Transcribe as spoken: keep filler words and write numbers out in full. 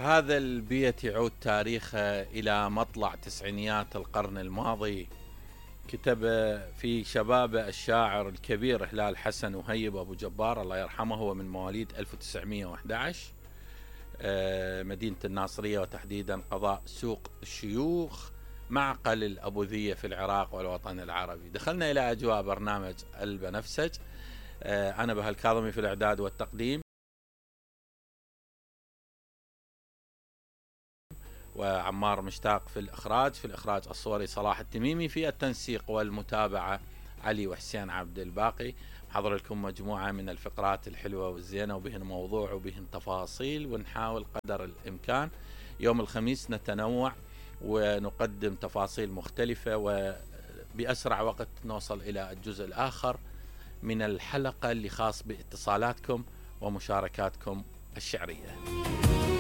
هذا البيت يعود تاريخه إلى مطلع تسعينيات القرن الماضي. كتب في شبابه الشاعر الكبير هلال حسن وهيب أبو جبار الله يرحمه، هو من مواليد ألف وتسعمئة وأحد عشر، مدينة الناصرية وتحديدا قضاء سوق الشيوخ، معقل الأبوذية في العراق والوطن العربي. دخلنا إلى أجواء برنامج البنفسج. أنا بهاء الكاظمي في الإعداد والتقديم، وعمار مشتاق في الإخراج في الإخراج الصوري صلاح التميمي، في التنسيق والمتابعة علي وحسين عبد الباقي. حضر لكم مجموعة من الفقرات الحلوة والزينة وبهن موضوع وبهن تفاصيل، ونحاول قدر الإمكان يوم الخميس نتنوع ونقدم تفاصيل مختلفة، وبأسرع وقت نوصل إلى الجزء الآخر من الحلقة اللي خاص باتصالاتكم ومشاركاتكم الشعرية.